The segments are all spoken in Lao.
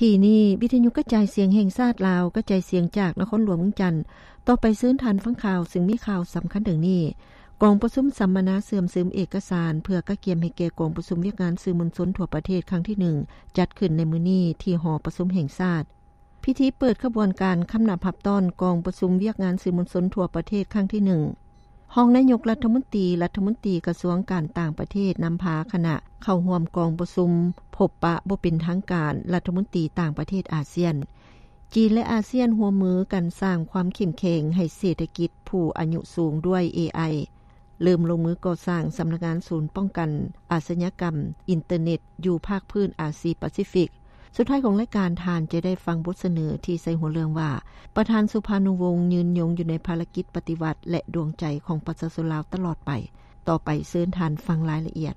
ທີ່ນີ້ ວິທະຍຸກະຈາຍສຽງແຫ່ງຊາດລາວ ກະຈາຍສຽງຈາກນະຄອນຫຼວງວຽງຈັນ. ຕໍ່ໄປເຊີນທ່ານຟັງຂ່າວ ຊຶ່ງມີຂ່າວສຳຄັນດັ່ງນີ້: ກອງປະຊຸມສຳມະນາເຊື່ອມຊຶມເອກະສານ ເພື່ອກະກຽມໃຫ້ແກ່ກອງປະຊຸມວຽກງານສື່ມວນຊົນທົ່ວປະເທດຄັ້ງທີໜຶ່ງ ຈັດຂຶ້ນໃນມື້ນີ້ທີ່ຫໍປະຊຸມແຫ່ງຊາດ. ພິທີເປີດຂະບວນການຄຳນັບຮັບຕ້ອນກອງປະຊຸມວຽກງານສື່ມວນຊົນທົ່ວປະເທດຄັ້ງທີໜຶ່ງ. ຮອງນາຍົກລັດຖະມົນຕີ, ລັດຖະມົນຕີກະຊວງການຕ່າງປະເທດ ນຳພາຄະນະເຂົ້າຮ່ວມກອງປະຊຸມພົບປະບໍ່ເປັນທາງການລັດຖະມົນຕີຕ່າງປະເທດອາຊຽນ. ຈີນ ແລະ ອາຊຽນຮ່ວມມືກັນສ້າງຄວາມເຂັ້ມແຂງໃຫ້ເສດຖະກິດຜູ້ອາຍຸສູງດ້ວຍ ເອໄອ ເລີ່ມລົງມືກໍ່ສ້າງສຳນັກງານສູນປ້ອງກັນອາຊະຍາກຳອິນເຕີເນັດຢູ່ພາກພື້ນອາຊີປາຊີຟິກ. ສຸດທ້າຍຂອງລາຍການ, ທ່ານຈະໄດ້ຟັງບົດສະເໜີທີ່ໃສ່ຫົວເລື່ອງວ່າ ປະທານສຸພານຸວົງຍືນຍົງຢູ່ໃນພາລະກິດປະຕິວັດ ແລະ ດວງໃຈຂອງປະຊາຊົນລາວຕະຫຼອດໄປ. ຕໍ່ໄປເຊີນທ່ານຟັງລາຍລະອຽດ.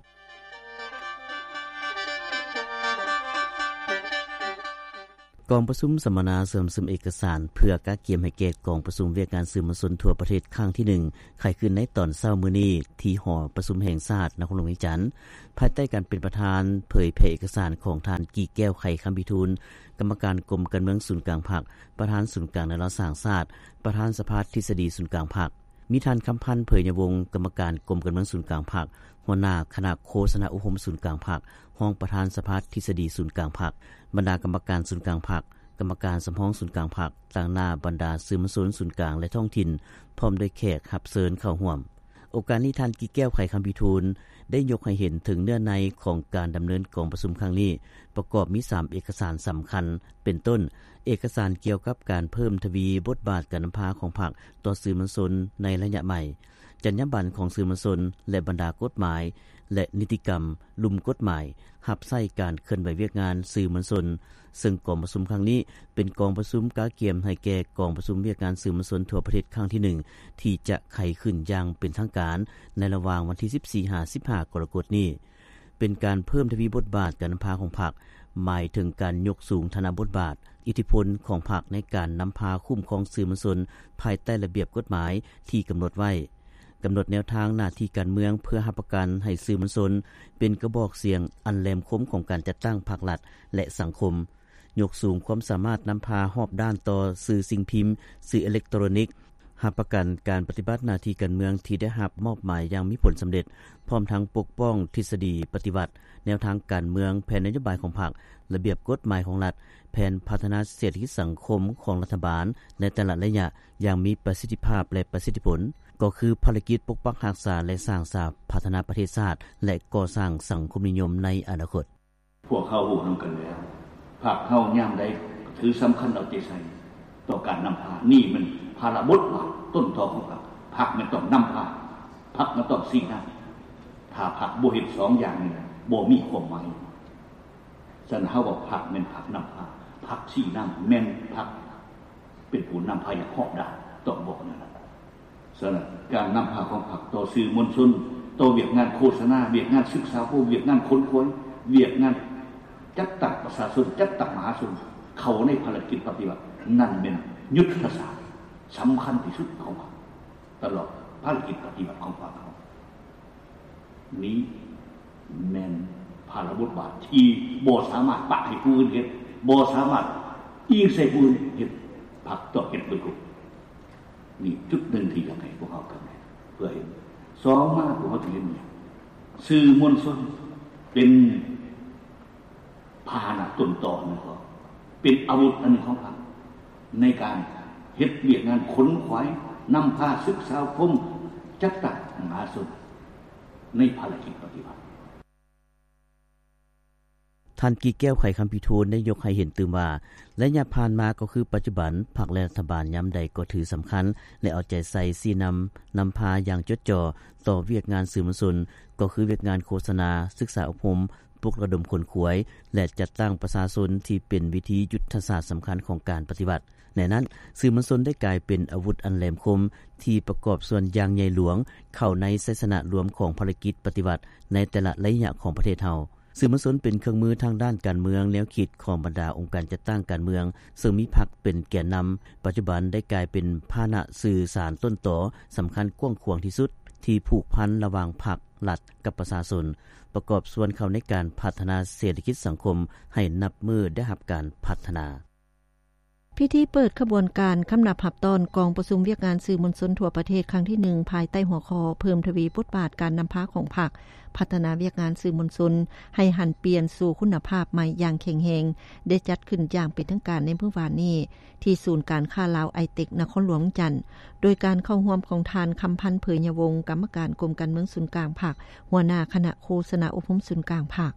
ກອງປະຊຸມສຳມະນາເຊື່ອມຊຶມເອກະສານ ເພື່ອກະກຽມໃຫ້ແກ່ກອງປະຊຸມວຽກງານສື່ມວນຊົນທົ່ວປະເທດຄັ້ງທີໜຶ່ງ ໄຂຂຶ້ນໃນຕອນເຊົ້າມື້ນີ້ ທີ່ຫໍປະຊຸມແຫ່ງຊາດ ນະຄອນຫຼວງວຽງຈັນ, ພາຍໃຕ້ການເປັນປະທານເຜີຍແຜ່ເອກະສານຂອງທ່ານ ກີແກ້ວ ໄຂຄຳພິທູນ, ກຳມະການກົມການເມືອງສູນກາງພັກ, ປະທານສູນກາງແນວລາວສ້າງຊາດ, ປະທານສະພາທິດສະດີສູນກາງພັກ. ມີທ່ານ ຄຳພັນ ເຜີຍຍະວົງ, ກຳມະການກົມການເມືອງສູນກາງພັກ, ຫົວໜ້າຄະນະໂຄສະນາອົບຮົມສູນກາງພັກ, ຮອງປະທານສະພາທິດສະດີສູນກາງພັກ, ບັນດາກຳມະການສູນກາງພັກ, ກຳມະການສຳຮອງສູນກາງພັກ, ຕາງໜ້າບັນດາສື່ມວນຊົນສູນກາງ ແລະ ທ້ອງຖິ່ນ, ພ້ອມດ້ວຍແຂກຮັບເຊີນເຂົ້າຮ່ວມ. ໂອກາດນີ້ ທ່ານ ກີແກ້ວ ໄຂຄຳພິທູນ ໄດ້ຍົກໃຫ້ເຫັນເຖິງເນື້ອໃນຂອງການດຳເນີນກອງປະຊຸມຄັ້ງນີ້ ປະກອບມີສາມເອກະສານສຳຄັນ ເປັນຕົ້ນ ເອກະສານກ່ຽວກັບການເພີ່ມທະວີບົດບາດການນຳພາຂອງພັກຕໍ່ສື່ມວນຊົນໃນໄລຍະໃໝ່, ຈັນຍາບັນຂອງສື່ມວນຊົນ ແລະ ບັນດາກົດໝາຍ ແລະ ນິຕິກຳ ລຸ່ມກົດໝາຍ ຮັບໃຊ້ການເຄື່ອນໄຫວວຽກງານສື່ມວນຊົນ, ເຊິ່ງກອງປະຊຸມຄັ້ງນີ້ ເປັນກອງປະຊຸມກະກຽມໃຫ້ແກ່ກອງປະຊຸມວຽກງານສື່ມວນຊົນທົ່ວປະເທດຄັ້ງທີໜຶ່ງ ທີ່ຈະໄຂຂຶ້ນຢ່າງເປັນທາງການ ໃນລະຫວ່າງວັນທີສິບສີ່ ຫາ ສິບຫ້າ ກໍລະກົດນີ້. ເປັນການເພີ່ມທະວີບົດບາດການນຳພາຂອງພັກ, ໝາຍເຖິງການຍົກສູງຖານະບົດບາດ, ອິດທິພົນຂອງພັກໃນການນຳພາຄຸ້ມຄອງສື່ມວນຊົນ ພາຍໃຕ້ລະບຽບກົດໝາຍທີ່ກຳນົດໄວ້, ກຳນົດແນວທາງໜ້າທີ່ການເມືອງ ເພື່ອຮັບປະກັນໃຫ້ສື່ມວນຊົນເປັນກະບອກສຽງອັນແຫຼມຄົມຂອງການຈັດຕັ້ງພັກລັດ ແລະ ສັງຄົມ, ຍົກສູງຄວາມສາມາດນຳພາຮອບດ້ານຕໍ່ສື່ສິ່ງພິມ, ສື່ເອເລັກໂຕຣນິກ, ຮັບປະກັນການປະຕິບັດໜ້າທີ່ການເມືອງທີ່ໄດ້ຮັບມອບໝາຍຢ່າງມີຜົນສຳເລັດ, ພ້ອມທັງປົກປ້ອງທິດສະດີປະຕິວັດ, ແນວທາງການເມືອງ, ແຜນນະໂຍບາຍຂອງພັກ, ລະບຽບກົດໝາຍຂອງລັດ, ແຜນພັດທະນາເສດຖະກິດສັງຄົມຂອງລັດຖະບານໃນແຕ່ລະໄລຍະຢ່າງມີປະສິດທິພາບ ແລະ ປະສິດທິຜົນ, ກໍຄືພາລະກິດປົກປັກຮັກສາ ແລະ ສ້າງສາພັດທະນາປະເທດຊາດ ແລະ ກໍ່ສ້າງສັງຄົມນິຍົມໃນອະນາຄົດ. ພວກເຮົາຮູ້ນຳກັນແລ້ວ, ພັກເຮົາຍາມໃດຖືສຳຄັນເອົາໃຈໃສ່ຕໍ່ການນຳພາ, ນີ້ແມ່ນພາລະບົດບາດຕົ້ນຕໍຂອງພັກ. ພັກແມ່ນຕ້ອງນຳພາ, ພັກແມ່ນຕ້ອງຊີ້ນຳ. ຖ້າພັກບໍ່ເຮັດສອງຢ່າງນີ້, ບໍ່ມີຄວາມໝາຍ. ສະນັ້ນ ເຮົາວ່າພັກແມ່ນພັກນຳພາ, ພັກຊີ້ນຳ, ແມ່ນພັກເປັນຜູ້ນຳພາຢ່າງຮອບດ້ານ, ຕ້ອງບອກແນວນັ້ນ. ສະນັ້ນ ການນຳພາຂອງພັກຕໍ່ສື່ມວນຊົນ, ຕໍ່ວຽກງານໂຄສະນາ, ວຽກງານສຶກສາອົບຮົມ, ວຽກງານຂົນຂວາຍ, ວຽກງານຈັດຕັ້ງປະຊາຊົນ, ຈັດຕັ້ງມະຫາຊົນເຂົ້າໃນພາລະກິດປະຕິວັດ, ນັ້ນແມ່ນຍຸດທະສາດສຳຄັນທີ່ສຸດຂອງພັກ ຕະຫຼອດພາລະກິດປະຕິວັດຂອງພັກເຮົາ. ນີ້ແມ່ນພາລະບົດບາດທີ່ບໍ່ສາມາດປະໃຫ້ຜູ້ອື່ນເຮັດ, ບໍ່ສາມາດອີງໃສ່ຜູ້ອື່ນເຮັດ, ພັກຕ້ອງເຮັດເບິດທຸກ. ນີ້ຈຸດໜຶ່ງທີ່ຢາກໃຫ້ພວກເຮົາກຳໄດ້ເພື່ອເຫັນ. ສອງມາ ພວກເຮົາຈະເຫັນຫຍັງ? ສື່ມວນຊົນເປັນພາຫະນະຕົ້ນຕໍໜຶ່ງຂອງ, ເປັນອາວຸດອັນໜຶ່ງຂອງພັກ ໃນການເຮັດວຽກງານຂົນຂວາຍ, ນຳພາ, ສຶກສາອົບຮົມ, ຈັດຕັ້ງມະຫາຊົນໃນພາລະກິດປະຕິວັດ. ທ່ານ ກີແກ້ວ ໄຂຄຳພິທູນ ໄດ້ຍົກໃຫ້ເຫັນຕື່ມວ່າ ໄລຍະຜ່ານມາກໍຄືປັດຈຸບັນ, ພັກ ແລະ ລັດຖະບານຍາມໃດກໍຖືສຳຄັນ ແລະ ເອົາໃຈໃສ່ຊີ້ນຳ, ນຳພາຢ່າງຈົດຈໍ່ຕໍ່ວຽກງານສື່ມວນຊົນ, ກໍຄືວຽກງານໂຄສະນາ, ສຶກສາອົບຮົມ, ປຸກລະດົມຂົນຂວາຍ ແລະ ຈັດຕັ້ງປະຊາຊົນທີ່ເປັນວິທີຍຸດທະສາດສຳຄັນຂອງການປະຕິວັດ. ໃນນັ້ນ, ສື່ມວນຊົນໄດ້ກາຍເປັນອາວຸດອັນແຫຼມຄົມທີ່ປະກອບສ່ວນຢ່າງໃຫຍ່ຫຼວງເຂົ້າໃນໄຊຊະນະລວມຂອງພາລະກິດປະຕິວັດໃນແຕ່ລະໄລຍະຂອງປະເທດເຮົາ. ສື່ມວນຊົນເປັນເຄື່ອງມືທາງດ້ານການເມືອງແນວຄິດຂອງບັນດາອົງການຈັດຕັ້ງການເມືອງ, ເຊິ່ງມີພັກເປັນແກນນຳ, ປັດຈຸບັນໄດ້ກາຍເປັນພາຫະນະສື່ສານຕົ້ນຕໍສຳຄັນກວ້າງຂວາງທີ່ສຸດ ທີ່ຜູກພັນລະຫວ່າງພັກ, ລັດ ກັບປະຊາຊົນ. ປະກອບສ່ວນເຂົ້າໃນການພັດທະນາເສດຖະກິດສັງຄົມໃຫ້ນັບມື້ໄດ້ຮັບການພັດທະນາ. ພິທີເປີດຂະບວນການຄຳນັບຮັບຕ້ອນກອງປະຊຸມວຽກງານສື່ມວນຊົນທົ່ວປະເທດຄັ້ງທີໜຶ່ງ ພາຍໃຕ້ຫົວຂໍ້ ເພີ່ມທະວີບົດບາດການນຳພາຂອງພັກ, ພັດທະນາວຽກງານສື່ມວນຊົນໃຫ້ຫັນປ່ຽນສູ່ຄຸນນະພາບໃໝ່ຢ່າງແຂງແຮງ ໄດ້ຈັດຂຶ້ນຢ່າງເປັນທາງການໃນມື້ວານນີ້ ທີ່ສູນການຄ້າລາວໄອເຕັກ ນະຄອນຫຼວງວຽງຈັນ ໂດຍການເຂົ້າຮ່ວມຂອງທ່ານ ຄຳພັນ ເຜີຍຍະວົງ ກຳມະການກົມການເມືອງສູນກາງພັກ, ຫົວໜ້າຄະນະໂຄສະນາອົບຮົມສູນກາງພັກ,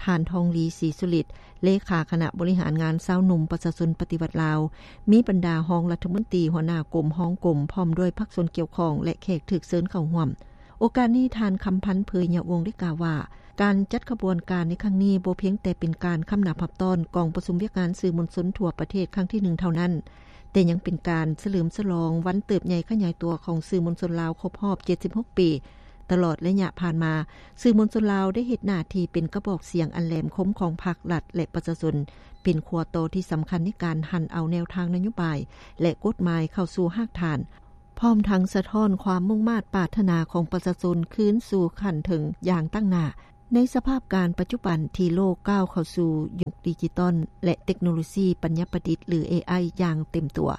ທ່ານ ທອງລີ ສີສຸລິດ ເລຂາຄະນະບໍລິຫານງານຊາວໜຸ່ມປະຊາຊົນປະຕິວັດລາວ, ມີບັນດາຮອງລັດຖະມົນຕີ, ຫົວໜ້າກົມ, ຮອງກົມ ພ້ອມດ້ວຍພາກສ່ວນກ່ຽວຂ້ອງ ແລະ ແຂກຖືກເຊີນເຂົ້າຮ່ວມ. ໂອກາດນີ້ ທ່ານ ຄຳພັນ ເຜີຍຍະວົງ ໄດ້ກ່າວວ່າ ການຈັດຂະບວນການໃນຄັ້ງນີ້ ບໍ່ພຽງແຕ່ເປັນການຄຳນັບຮັບຕ້ອນກອງປະຊຸມວຽກງານສື່ມວນຊົນທົ່ວປະເທດຄັ້ງທີໜຶ່ງເທົ່ານັ້ນ, ແຕ່ຍັງເປັນການສະເຫຼີມສະຫຼອງວັນເຕີບໃຫຍ່ຂະຫຍາຍຕົວຂອງສື່ມວນຊົນລາວຄົບຮອບເຈັດສິບຫົກປີ. ຕະຫຼອດໄລຍະຜ່ານມາ, ສື່ມວນຊົນລາວໄດ້ເຮັດໜ້າທີ່ເປັນກະບອກສຽງອັນແຫຼມຄົມຂອງພັກ, ລັດ ແລະ ປະຊາຊົນ, ເປັນຂົວຕໍ່ທີ່ສຳຄັນໃນການຫັນເອົາແນວທາງນະໂຍບາຍ ແລະ ກົດໝາຍເຂົ້າສູ່ຮາກຖານ, ພ້ອມທັງສະທ້ອນຄວາມມຸ່ງມາດປາດຖະໜາຂອງປະຊາຊົນຄືນສູ່ຂັ້ນເທິງຢ່າງຕັ້ງໜ້າ. ໃນສະພາບການປັດຈຸບັນທີ່ໂລກກ້າວເຂົ້າສູ່ຍຸກດິຈິຕອນ ແລະ ເຕັກໂນໂລຊີປັນຍາປະດິດ ຫຼື ເອໄອ ຢ່າງເຕັມຕົວ,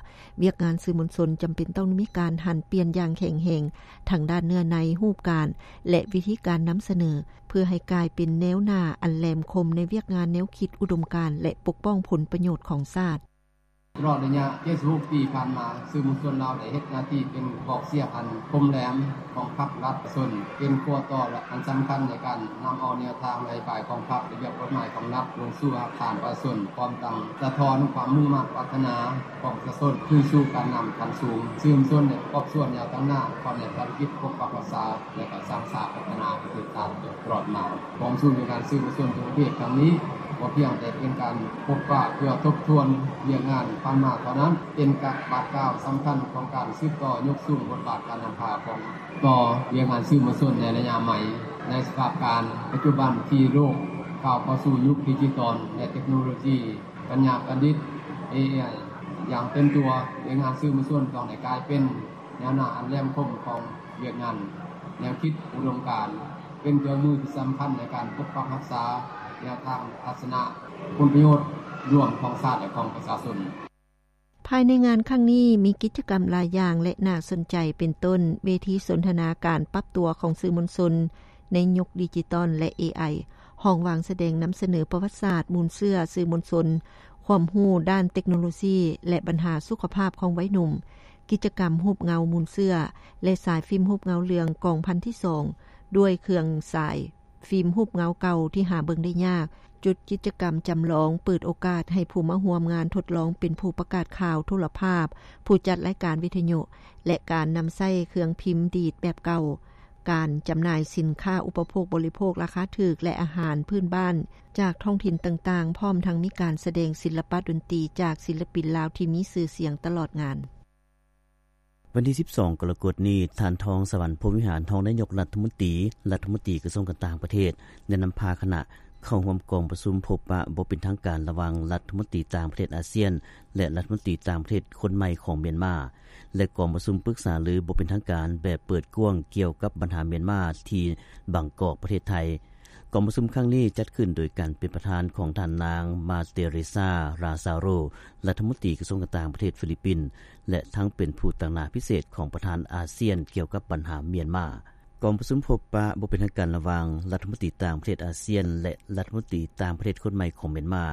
ວຽກງານສື່ມວນຊົນຈຳເປັນຕ້ອງໄດ້ມີການຫັນປ່ຽນຢ່າງແຂງແຮງ ທັງດ້ານເນື້ອໃນ, ຮູບການ ແລະ ວິທີການນຳສະເໜີ, ເພື່ອໃຫ້ກາຍເປັນແນວໜ້າອັນແຫຼມຄົມໃນວຽກງານແນວຄິດ, ອຸດົມການ ແລະ ປົກປ້ອງຜົນປະໂຫຍດຂອງຊາດ. ຕະຫຼອດໄລຍະເຈັດສິບຫົກປີຜ່ານມາ, ສື່ມວນຊົນລາວໄດ້ເຮັດໜ້າທີ່ເປັນກະບອກສຽງອັນຄົມແຫຼມຂອງພັກ, ລັດ, ປະຊາຊົນ, ເປັນຂົວຕໍ່ ແລະ ອັນສຳຄັນໃນການນຳເອົາແນວທາງ, ນະໂຍບາຍຂອງພັກ, ລະບຽບກົດໝາຍຂອງລັດ ລົງສູ່ຮາກຖານປະຊາຊົນ, ພ້ອມທັງສະທ້ອນຄວາມມຸ່ງມາດປາດຖະໜາຂອງປະຊາຊົນ ຄືນສູ່ການນຳຂັ້ນສູງ. ສື່ມວນຊົນໄດ້ປະກອບສ່ວນຢ່າງຕັ້ງໜ້າເຂົ້າໃນພາລະກິດປົກປັກຮັກສາ ແລະ ກໍສ້າງສາພັດທະນາປະເທດຊາດຕະຫຼອດມາ. ກອງປະຊຸມວຽກງານສື່ມວນຊົນທົ່ວປະເທດຄັ້ງນີ້ ບໍ່ພຽງແຕ່ເປັນການພົບປະເພື່ອທົບທວນວຽກງານຜ່ານມາເທົ່ານັ້ນ, ເປັນການບາດກ້າວສຳຄັນຂອງການສືບຕໍ່ຍົກສູງບົດບາດການນຳພາຂອງ ຕໍ່ວຽກງານສື່ມວນຊົນໃນໄລຍະໃໝ່ ໃນສະພາບການປັດຈຸບັນທີ່ໂລກກ້າວເຂົ້າສູ່ຍຸກດິຈິຕອນ ແລະ ເຕັກໂນໂລຊີປັນຍາປະດິດ ເອໄອ ຢ່າງເຕັມຕົວ. ວຽກງານສື່ມວນຊົນຕ້ອງໄດ້ກາຍເປັນ ແນວໜ້າອັນແຫຼມຄົມຂອງວຽກງານແນວຄິດອຸດົມການ ເປັນເຄື່ອງມືທີ່ສຳຄັນໃນການປົກປັກຮັກສາແນວທາງທັດສະນະຜົນປະໂຫຍດລວມຂອງຊາດ ແລະ ຂອງປະຊາຊົນ. ພາຍໃນງານຄັ້ງນີ້ມີກິດຈະກຳຫຼາຍຢ່າງ ແລະ ໜ້າສົນໃຈ ເປັນຕົ້ນ ເວທີສົນທະນາການປັບຕົວຂອງສື່ມວນຊົນໃນຍຸກດິຈິຕອນ ແລະ ເອໄອ, ຫ້ອງວາງສະແດງນຳສະເໜີປະຫວັດສາດ, ມູນເຊື້ອສື່ມວນຊົນ, ຄວາມຮູ້ດ້ານເຕັກໂນໂລຊີ ແລະ ບັນຫາສຸຂະພາບຂອງໄວໜຸ່ມ, ກິດຈະກຳຮູບເງົາມູນເຊື້ອ ແລະ ສາຍຟິມຮູບເງົາເລື່ອງກອງພັນທີສອງ ດ້ວຍເຄື່ອງສາຍຟິມຮູບເງົາເກົ່າທີ່ຫາເບິ່ງໄດ້ຍາກ, ຈຸດກິດຈະກຳຈຳລອງເປີດໂອກາດໃຫ້ຜູ້ມາຮ່ວມງານທົດລອງເປັນຜູ້ປະກາດຂ່າວໂທລະພາບ, ຜູ້ຈັດລາຍການວິທະຍຸ ແລະ ການນຳໃຊ້ເຄື່ອງພິມດີດແບບເກົ່າ, ການຈຳໜ່າຍສິນຄ້າອຸປະໂພກບໍລິໂພກລາຄາຖືກ ແລະ ອາຫານພື້ນບ້ານຈາກທ້ອງຖິ່ນຕ່າງໆ, ພ້ອມທັງມີການສະແດງສິລະປະດົນຕີຈາກສິນລະປິນລາວທີ່ມີຊື່ສຽງຕະຫຼອດງານ. ວັນທີສິບສອງ ກໍລະກົດນີ້, ທ່ານ ທອງສະຫວັນ ພົມວິຫານ ຮອງນາຍົກລັດຖະມົນຕີ, ລັດຖະມົນຕີກະຊວງການຕ່າງປະເທດ ໄດ້ນຳພາຄະນະເຂົ້າຮ່ວມກອງປະຊຸມພົບປະບໍ່ເປັນທາງການລະຫວ່າງລັດຖະມົນຕີຕ່າງປະເທດອາຊຽນ ແລະ ລັດຖະມົນຕີຕ່າງປະເທດຄົນໃໝ່ຂອງມຽນມາ ແລະ ກອງປະຊຸມປຶກສາລືບໍ່ເປັນທາງການແບບເປີດກວ້າງກ່ຽວກັບບັນຫາມຽນມາທີ່ບາງກອກ ປະເທດໄທ. ກອງປະຊຸມຄັ້ງນີ້ຈັດຂຶ້ນໂດຍການເປັນປະທານຂອງທ່ານນາງ ມາເຕເຣຊາ ຣາຊາໂຣ ລັດຖະມົນຕີກະຊວງການຕ່າງປະເທດຟີລິບປິນ ແລະ ທັງເປັນຜູ້ຕາງໜ້າພິເສດຂອງປະທານອາຊຽນກ່ຽວກັບບັນຫາມຽນມາ. ກອງປະຊຸມພົບປະບໍ່ເປັນທາງການລະຫວ່າງລັດຖະມົນຕີຕ່າງປະເທດອາຊຽນ ແລະ ລັດຖະມົນຕີຕ່າງປະເທດຄົນໃໝ່ຂອງມຽນມາ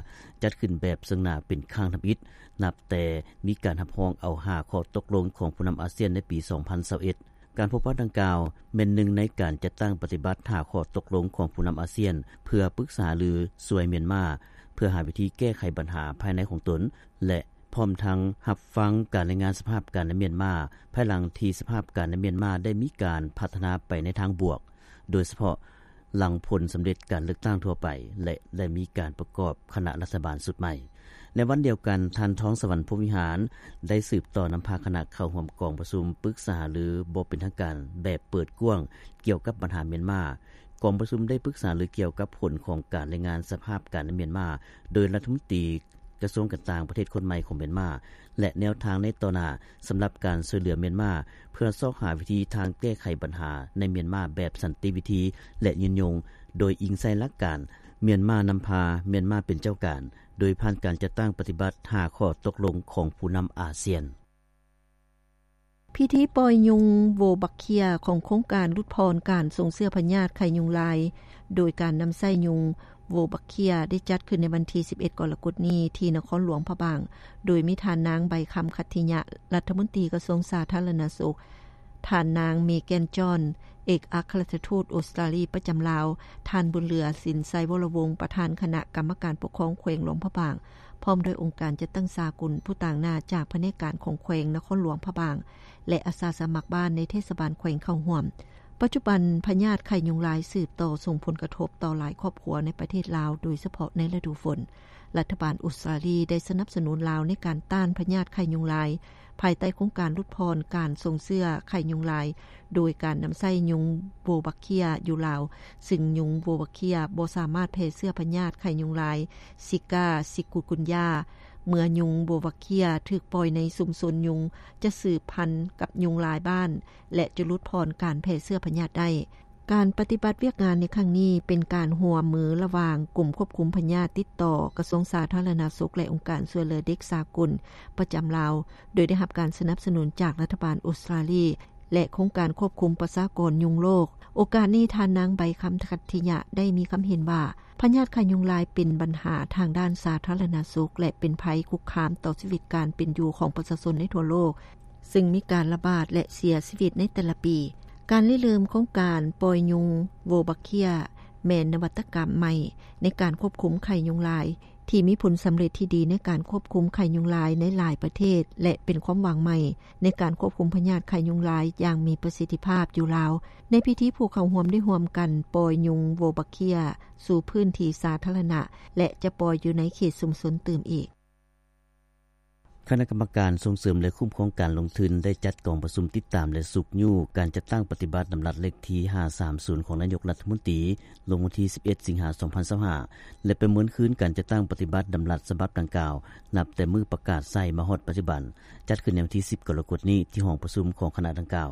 ຈັດຂຶ້ນແບບເຊິ່ງໜ້າເປັນຄັ້ງທຳອິດ ນັບແຕ່ມີການຮັບຮອງເອົາຫ້າຂໍ້ຕົກລົງຂອງຜູ້ນຳອາຊຽນໃນປີສອງພັນຊາວເອັດ. ການພົບປະດັ່ງກ່າວແມ່ນໜຶ່ງໃນການຈັດຕັ້ງປະຕິບັດຫ້າຂໍ້ຕົກລົງຂອງຜູ້ນຳອາຊຽນ ເພື່ອປຶກສາລືຊ່ວຍມຽນມາ ເພື່ອຫາວິທີແກ້ໄຂບັນຫາພາຍໃນຂອງຕົນ ແລະ ພ້ອມທັງຮັບຟັງການລາຍງານສະພາບການໃນມຽນມາ ພາຍຫຼັງທີ່ສະພາບການໃນມຽນມາໄດ້ມີການພັດທະນາໄປໃນທາງບວກ, ໂດຍສະເພາະຫຼັງຜົນສຳເລັດການເລືອກຕັ້ງທົ່ວໄປ ແລະ ໄດ້ມີການປະກອບຄະນະລັດຖະບານຊຸດໃໝ່. ໃນວັນດຽວກັນ, ທ່ານ ທອງສະຫວັນ ພົມວິຫານ ໄດ້ສືບຕໍ່ນຳພາຄະນະເຂົ້າຮ່ວມກອງປະຊຸມປຶກສາຫາລືບໍ່ເປັນທາງການແບບເປີດກວ້າງກ່ຽວກັບບັນຫາມຽນມາ. ກອງປະຊຸມໄດ້ປຶກສາລືກ່ຽວກັບຜົນຂອງການລາຍງານສະພາບການໃນມຽນມາ ໂດຍລັດຖະມົນຕີ ກະຊວງການຕ່າງປະເທດຄົນໃໝ່ຂອງມຽນມາ ແລະ ແນວທາງໃນຕໍ່ໜ້າ ສຳລັບການຊ່ວຍເຫຼືອມຽນມາ ເພື່ອຊອກຫາວິທີທາງແກ້ໄຂບັນຫາໃນມຽນມາແບບສັນຕິວິທີ ແລະ ຍືນຍົງ ໂດຍອີງໃສ່ຫຼັກການ ມຽນມານຳພາ, ມຽນມາເປັນເຈົ້າການ ໂດຍຜ່ານການຈັດຕັ້ງປະຕິບັດຫ້າຂໍ້ຕົກລົງຂອງຜູ້ນຳອາຊຽນ. ພິທີປ່ອຍຍຸງໂວບັກເຄຍຂອງໂຄງການຫຼຸດຜ່ອນການສົ່ງເຊື້ອພະຍາດໄຂ້ຍຸງລາຍ ໂດຍການນຳໃຊ້ຍຸງໂວບັກເຄຍ ໄດ້ຈັດຂຶ້ນໃນວັນທີສິບເອັດ ກໍລະກົດນີ້ ທີ່ນະຄອນຫຼວງພະບາງ ໂດຍມີທ່ານນາງ ໃບຄຳ ຂັດທິຍະ ລັດຖະມົນຕີກະຊວງສາທາລະນະສຸກ, ທ່ານນາງ ເມແກນ ຈອນ ເອກອັກຄະລັດຖະທູດອົດສະຕຣາລີປະຈຳລາວ, ທ່ານ ບຸນເຫຼືອ ສິນໄຊວໍລະວົງ ປະທານຄະນະກຳມະການປົກຄອງແຂວງຫຼວງພະບາງ, ພ້ອມດ້ວຍອົງການຈັດຕັ້ງສາກົນ, ຜູ້ຕາງໜ້າຈາກພະແນກການຂອງແຂວງນະຄອນຫຼວງພະບາງ ແລະ ອາສາສະໝັກບ້ານໃນເທດສະບານແຂວງເຂົ້າຮ່ວມ. ປັດຈຸບັນພະຍາດໄຂ້ຍຸງລາຍສືບຕໍ່ສົ່ງຜົນກະທົບຕໍ່ຫຼາຍຄອບຄົວໃນປະເທດລາວ, ໂດຍສະເພາະໃນລະດູຝົນ. ລັດຖະບານອົດສະຕຣາລີໄດ້ສະໜັບສະໜູນລາວໃນການຕ້ານພະຍາດໄຂ້ຍຸງລາຍ ພາຍໃຕ້ໂຄງການຫຼຸດຜ່ອນການສົ່ງເຊື້ອໄຂ້ຍຸງລາຍ ໂດຍການນຳໃຊ້ຍຸງໂວບັກເຄຍຢູ່ລາວ, ຊຶ່ງຍຸງໂວບັກເຄຍບໍ່ສາມາດແຜ່ເຊື້ອພະຍາດໄຂ້ຍຸງລາຍ ຊິກາ, ຊິກຸນກຸນຢາ. ເມື່ອຍຸງໂວບັກເຄຍຖືກປ່ອຍໃນຊຸມຊົນ, ຍຸງຈະສືບພັນກັບຍຸງລາຍບ້ານ ແລະ ຈະຫຼຸດຜ່ອນການແຜ່ເຊື້ອພະຍາດໄດ້. ການປະຕິບັດວຽກງານໃນຄັ້ງນີ້ ເປັນການຮ່ວມມືລະຫວ່າງກົມຄວບຄຸມພະຍາດຕິດຕໍ່ ກະຊວງສາທາລະນະສຸກ ແລະ ອົງການຊ່ວຍເຫຼືອເດັກສາກົນປະຈຳລາວ, ໂດຍໄດ້ຮັບການສະໜັບສະໜູນຈາກລັດຖະບານອົດສະຕຣາລີ ແລະ ໂຄງການຄວບຄຸມປະຊາກອນຍຸງໂລກ. ໂອກາດນີ້ ທ່ານນາງ ໃບຄຳ ຂັດທິຍະ ໄດ້ມີຄຳເຫັນວ່າ ພະຍາດໄຂ້ຍຸງລາຍເປັນບັນຫາທາງດ້ານສາທາລະນະສຸກ ແລະ ເປັນໄພຄຸກຄາມຕໍ່ຊີວິດການເປັນຢູ່ຂອງປະຊາຊົນໃນທົ່ວໂລກ, ຊຶ່ງມີການລະບາດ ແລະ ເສຍຊີວິດໃນແຕ່ລະປີ. ການລິເລີ່ມໂຄງການປ່ອຍຍຸງໂວບັກເຄຍ ແມ່ນນະວັດຕະກຳໃໝ່ໃນການຄວບຄຸມໄຂ້ຍຸງລາຍ ທີ່ມີຜົນສຳເລັດທີ່ດີໃນການຄວບຄຸມໄຂ້ຍຸງລາຍໃນຫຼາຍປະເທດ ແລະ ເປັນຄວາມຫວັງໃໝ່ໃນການຄວບຄຸມພະຍາດໄຂ້ຍຸງລາຍຢ່າງມີປະສິດທິພາບຢູ່ລາວ. ໃນພິທີ ຜູ້ເຂົ້າຮ່ວມໄດ້ຮ່ວມກັນປ່ອຍຍຸງໂວບັກເຄຍສູ່ພື້ນທີ່ສາທາລະນະ ແລະ ຈະປ່ອຍຢູ່ໃນເຂດຊຸມຊົນຕື່ມອີກ. ຄະນະກຳມະການສົ່ງເສີມ ແລະ ຄຸ້ມຄອງການລົງທຶນ ໄດ້ຈັດກອງປະຊຸມຕິດຕາມ ແລະ ຊຸກຍູ້ການຈັດຕັ້ງປະຕິບັດດຳລັດເລກທີຫ້າສາມສູນ ຂອງນາຍົກລັດຖະມົນຕີ ລົງວັນທີສິບເອັດ ສິງຫາ ສອງພັນຊາວຫ້າ ແລະ ປະເມີນຄືນການຈັດຕັ້ງປະຕິບັດດຳລັດສະບັບດັ່ງກ່າວ ນັບແຕ່ມື້ປະກາດໃຊ້ມາຮອດປັດຈຸບັນ, ຈັດຂຶ້ນໃນວັນທີສິບ ກໍລະກົດນີ້ ທີ່ຫ້ອງປະຊຸມຂອງຄະນະດັ່ງກ່າວ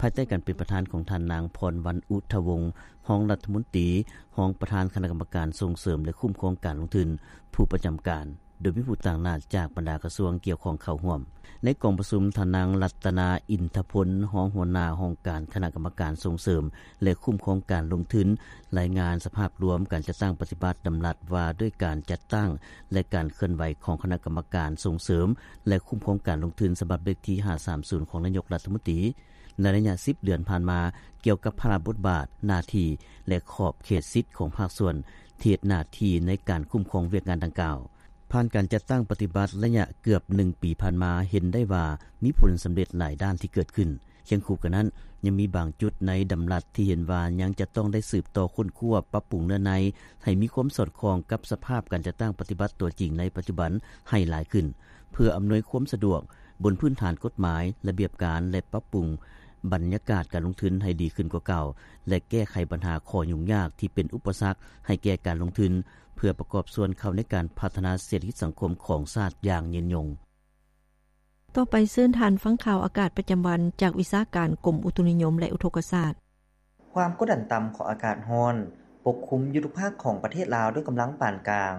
ພາຍໃຕ້ການເປັນປະທານຂອງທ່ານນາງ ພອນວັນ ອຸທະວົງ ຮອງລັດຖະມົນຕີ, ຮອງປະທານຄະນະກຳມະການສົ່ງເສີມ ແລະ ຄຸ້ມຄອງການລົງທຶນ ຜູ້ປະຈຳການ ໂດຍມີຜູ້ຕາງໜ້າຈາກບັນດາກະຊວງກ່ຽວຂ້ອງເຂົ້າຮ່ວມ. ໃນກອງປະຊຸມ, ທ່ານນາງ ລັດຕະນາ ອິນທະພົນ ຮອງຫົວໜ້າຫ້ອງການຄະນະກຳມະການສົ່ງເສີມ ແລະ ຄຸ້ມຄອງການລົງທຶນ ລາຍງານສະພາບລວມການຈັດຕັ້ງປະຕິບັດດຳລັດວ່າດ້ວຍການຈັດຕັ້ງ ແລະ ການເຄື່ອນໄຫວຂອງຄະນະກຳມະການສົ່ງເສີມ ແລະ ຄຸ້ມຄອງການລົງທຶນ ສະບັບເລກທີຫ້າສາມສູນ ຂອງນາຍົກລັດຖະມົນຕີ ໃນໄລຍະສິບເດືອນຜ່ານມາ ກ່ຽວກັບພາລະບົດບາດ, ໜ້າທີ່ ແລະ ຂອບເຂດສິດຂອງພາກສ່ວນທີ່ເຮັດໜ້າທີ່ໃນການຄຸ້ມຄອງວຽກງານດັ່ງກ່າວ. ຜ່ານການຈັດຕັ້ງປະຕິບັດໄລຍະເກືອບໜຶ່ງປີຜ່ານມາ, ເຫັນໄດ້ວ່າມີຜົນສຳເລັດຫຼາຍດ້ານທີ່ເກີດຂຶ້ນ. ຄຽງຄູ່ກັນນັ້ນ, ຍັງມີບາງຈຸດໃນດຳລັດທີ່ເຫັນວ່າຍັງຈະຕ້ອງໄດ້ສືບຕໍ່ຄົ້ນຄວ້າ, ປັບປຸງເນື້ອໃນໃຫ້ມີຄວາມສອດຄ່ອງກັບສະພາບການຈັດຕັ້ງປະຕິບັດຕົວຈິງໃນປັດຈຸບັນໃຫ້ຫຼາຍຂຶ້ນ, ເພື່ອອຳນວຍຄວາມສະດວກ ບົນພື້ນຖານກົດໝາຍ, ລະບຽບການ ແລະ ປັບປຸງບັນຍາກາດການລົງທຶນໃຫ້ດີຂຶ້ນກວ່າເກົ່າ ແລະ ແກ້ໄຂບັນຫາຂໍ້ຫຍຸ້ງຍາກທີ່ເປັນອຸປະສັກໃຫ້ແກ່ການລົງທຶນ, ເພື່ອປະກອບສ່ວນເຂົ້າໃນການພັດທະນາເສດຖະກິດສັງຄົມຂອງຊາດຢ່າງຍືນຍົງ. ຕໍ່ໄປເຊີນທ່ານຟັງຂ່າວອາກາດປະຈຳວັນ ຈາກວິຊາການກົມອຸຕຸນິຍົມ ແລະ ອຸທົກກະສາດ. ຄວາມກົດດັນຕ່ຳຂອງອາກາດຮ້ອນປົກຄຸມຢູ່ທຸກພາກຂອງປະເທດລາວດ້ວຍກຳລັງປານກາງ,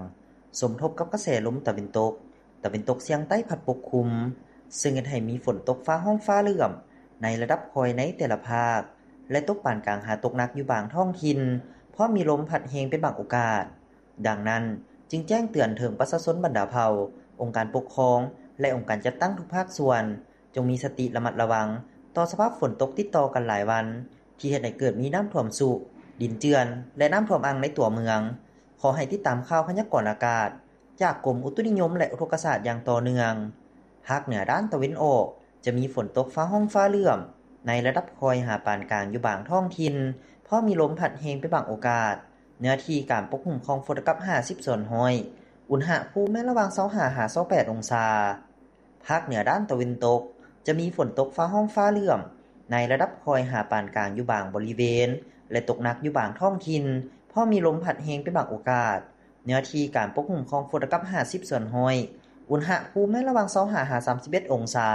ສົມທົບກັບກະແສລົມຕາເວັນຕົກ, ຕາເວັນຕົກສຽງໃຕ້ພັດປົກຄຸມ, ເຊິ່ງເຮັດໃຫ້ມີຝົນຕົກຟ້າຮ້ອງຟ້າເຫຼື້ອມໃນລະດັບຄ່ອຍໃນແຕ່ລະພາກ ແລະ ຕົກປານກາງຫາຕົກໜັກຢູ່ບາງທ້ອງຖິ່ນ, ພ້ອມມີລົມພັດແຮງເປັນບາງໂອກາດ. ດັ່ງນັ້ນ, ຈຶ່ງແຈ້ງເຕືອນເຖິງປະຊາຊົນບັນດາເຜົ່າ, ອົງການປົກຄອງ ແລະ ອົງການຈັດຕັ້ງທຸກພາກສ່ວນ, ຈົ່ງມີສະຕິລະມັດລະວັງຕໍ່ສະພາບຝົນຕົກຕິດຕໍ່ກັນຫຼາຍວັນ ທີ່ເຮັດໃຫ້ເກີດມີນ້ຳຖ້ວມຊຸ, ດິນເຈື່ອນ ແລະ ນ້ຳຖ້ວມອັ່ງໃນຕົວເມືອງ. ຂໍໃຫ້ຕິດຕາມຂ່າວພະຍາກອນອາກາດຈາກກົມອຸຕຸນິຍົມ ແລະ ອຸທົກກະສາດຢ່າງຕໍ່ເນື່ອງ. ພາກເໜືອດ້ານຕາເວັນອອກ ຈະມີຝົນຕົກຟ້າຮ້ອງຟ້າເຫຼື້ອມໃນລະດັບຄ່ອຍຫາປານກາງຢູ່ບາງທ້ອງຖິ່ນ, ພ້ອມມີລົມພັດແຮງເປັນບາງໂອກາດ. ເນື້ອທີ່ການປົກຄຸມຂອງຝົນກັບຫ້າສິບສ່ວນຮ້ອຍ, ອຸນຫະພູມແມ່ນລະຫວ່າງຊາວຫ້າຫາຊາວແປດອົງສາ. ພາກເໜືອດ້ານຕາເວັນຕົກ ຈະມີຝົນຕົກຟ້າຮ້ອງຟ້າເຫຼື້ອມໃນລະດັບຄ່ອຍຫາປານກາງຢູ່ບາງບໍລິເວນ ແລະ ຕົກໜັກຢູ່ບາງທ້ອງຖິ່ນ, ພ້ອມມີລົມພັດແຮງເປັນບາງໂອກາດ. ເນື້ອທີ່ການປົກຫຸ້ມຂອງຝົນລະກັບຫ້າສິບສ່ວນຮ້ອຍ, ອຸນຫະພູມໃນລະຫວ່າງຊາວຫ້າຫາສາມສິບເອັດອົງສາ.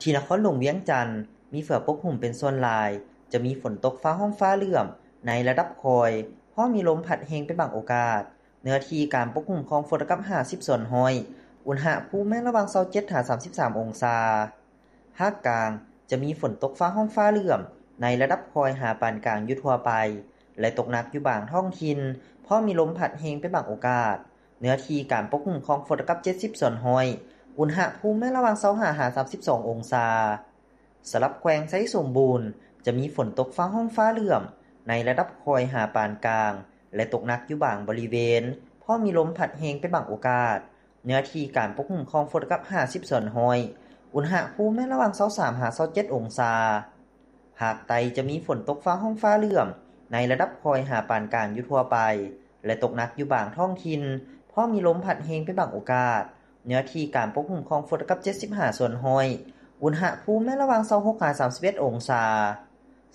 ທີ່ນະຄອນຫຼວງວຽງຈັນ ມີເຝືອປົກຫຸ້ມເປັນສ່ວນຫຼາຍ, ຈະມີຝົນຕົກຟ້າຮ້ອງຟ້າເຫຼື້ອມໃນລະດັບຄ່ອຍ, ພໍມີລົມພັດແຮງເປັນບາງໂອກາດ. ເນື້ອທີ່ການປົກຫຸ້ມຂອງຝົນລະກັບຫ້າສິບສ່ວນຮ້ອຍ, ອຸນຫະພູມແມ່ນລະຫວ່າງຊາວເຈັດຫາສາມສິບສາມອົງສາ. ພາກກາງ ຈະມີຝົນຕົກຟ້າຮ້ອງຟ້າເຫຼື້ອມໃນລະດັບຄ່ອຍຫາປານກາງຢູ່ທົ່ວໄປ ແລະ ຕົກໜັກຢູ່ບາງທ້ອງຖິ່ນ, ພໍມີລົມພັດແຮງເປັນບາງໂອກາດ. ເນື້ອທີ່ການປົກຫຸ້ມຂອງຝົນລະກັບເຈັດສິບສ່ວນຮ້ອຍ, ອຸນຫະພູມແມ່ນລະຫວ່າງຊາວຫ້າຫາສາມສິບສອງອົງສາ. ສຳລັບແຂວງໄຊສົມບູນ ຈະມີຝົນຕົກຟ້າຮ້ອງຟ້າເຫຼື້ອມໃນລະດັບຄ່ອຍຫາປານກາງ ແລະ ຕົກໜັກຢູ່ບາງບໍລິເວນ, ພໍມີລົມພັດແຮງເປັນບາງໂອກາດ. ເນື້ອທີ່ການປົກຫຸ້ມຂອງຝົນລະກັບຫ້າສິບສ່ວນຮ້ອຍ, ອຸນຫະພູມແມ່ນລະຫວ່າງຊາວສາມຫາຊາວເຈັດອົງສາ. ພາກໃຕ້ຈະມີຝົນຕົກຟ້າຮ້ອງຟ້າເຫຼື້ອມໃນລະດັບຄ່ອຍຫາປານກາງຢູ່ທົ່ວໄປ ແລະ ຕົກໜັກຢູ່ບາງທ້ອງຖິ່ນ, ພໍມີລົມພັດແຮງເປັນບາງໂອກາດ. ເນື້ອທີ່ການປົກຫຸ້ມຂອງຝົນລະກັບເຈັດສິບຫ້າສ່ວນຮ້ອຍ, ອຸນຫະພູມແມ່ນລະຫວ່າງຊາວຫົກຫາສາມສິບເອັດອົງສາ.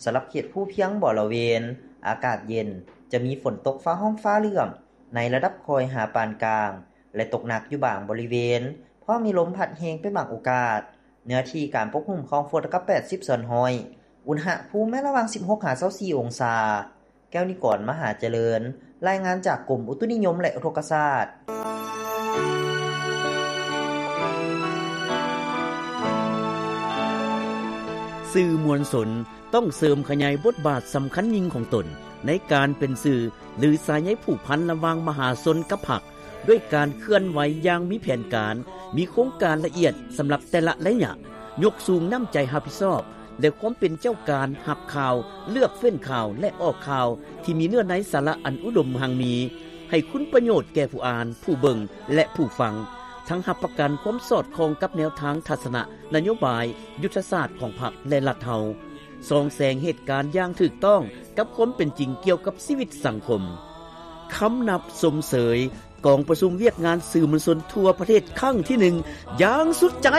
ສຳລັບເຂດພູພຽງບໍລະເວນ ອາກາດເຢັນ, ຈະມີຝົນຕົກຟ້າຮ້ອງຟ້າເຫຼື້ອມໃນລະດັບຄ່ອຍຫາປານກາງ ແລະ ຕົກໜັກຢູ່ບາງບໍລິເວນ, ພໍມີລົມພັດແຮງເປັນບາງໂອກາດ. ເນື້ອທີ່ການປົກຫຸ້ມຂອງຝົນລະກັບແປດສິບສ່ວນຮ້ອຍ, ອຸນຫະພູມແມ່ນລະຫວ່າງສິບຫົກຫາຊາວສີ່ອົງສາ. ແກ້ວນິກອນ ມະຫາຈະເລີນ, ລາຍງານຈາກກົມອຸຕຸນິຍົມ ແລະ ອຸທົກກະສາດ. ສື່ມວນຊົນຕ້ອງເສີມຂະຫຍາຍບົດບາດສຳຄັນຍິ່ງຂອງຕົນ ໃນການເປັນສື່ ຫຼື ສາຍໃຍຜູກພັນລະຫວ່າງມະຫາຊົນກັບພັກ ດ້ວຍການເຄື່ອນໄຫວຢ່າງມີແຜນການ, ມີໂຄງການລະອຽດສຳລັບແຕ່ລະໄລຍະ, ຍົກສູງນ້ຳໃຈຮັບຜິດຊອບ ແລະ ຄວາມເປັນເຈົ້າການຮັບຂ່າວ, ເລືອກເຟ້ນຂ່າວ ແລະ ອອກຂ່າວທີ່ມີເນື້ອໃນສາລະອັນອຸດົມຮັ່ງມີ ໃຫ້ຄຸນປະໂຫຍດແກ່ຜູ້ອ່ານ, ຜູ້ເບິ່ງ ແລະ ຜູ້ຟັງ, ທັງຮັບປະກັນຄວາມສອດຄ່ອງກັບແນວທາງທັດສະນະນະໂຍບາຍ, ຍຸດທະສາດຂອງພັກ ແລະ ລັດເຮົາ, ສ່ອງແສງເຫດການຢ່າງຖືກຕ້ອງກັບຄວາມເປັນຈິງກ່ຽວກັບຊີວິດສັງຄົມ. ຄຳນັບຊົມເຊີຍ ກອງປະຊຸມວຽກງານສື່ມວນຊົນທົ່ວປະເທດຄັ້ງທີໜຶ່ງ ຢ່າງສຸດໃຈ.